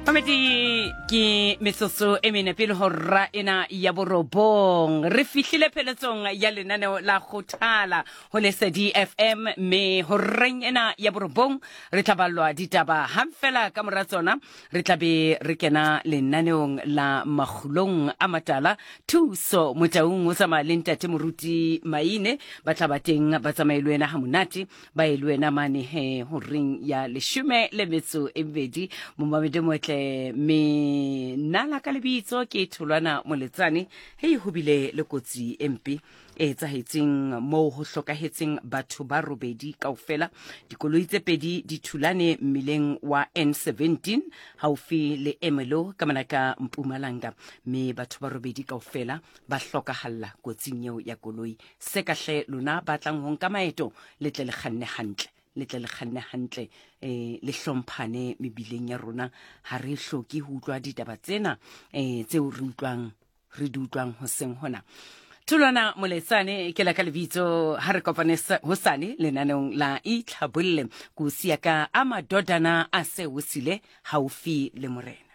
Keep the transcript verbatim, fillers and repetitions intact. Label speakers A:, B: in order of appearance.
A: Mamedi, ke metsotso e mene pele ho ra ena ya borobong. Re fihlile pheletsong ya lenaneo la Kgothala ho Lesedi F M, mme horeng ena ya borobong re tla ballwa ditaba. Hang fela ka mora tsona re tla be re kena lenaneong la Makgulong a Matala. Thuso Motaung o tsamaya le ntate Moruti Maine, ba tla ba teng ba tsamaye le wena ha monate, ba ye le wena mane he horeng ya leshome le metso e mebedi. Momamedi motle, me nna ka lebitso ke Tholwana Moletsane. Hei, ho bile le kotsi e mpe e etsahetseng moo ho hlokahetseng batho ba robedi kaofela. Dikoloi tse pedi di thulane mmileng wa N seventeen haufi le Emelo ka mona ka Mpumalanga, mme batho ba robedi kaofela ba hlokahalla kotsing eo ya koloi. Se ka hle lona ba tlang ho nka maeto, le tle le kganne hantle, le tle le kganne hantle, eh, le hlomphane mebileng ya rona. Ha re hloke ho utlwa ditaba tsena, eh, tseo re utlwang, re di utlwang hoseng hona. Tholwana Moletsane ke la ka lebitso. Ha re kopane hosane lenaneong la Itlhabolle. Ko siya ka a madodana a se o sile haufi le morena.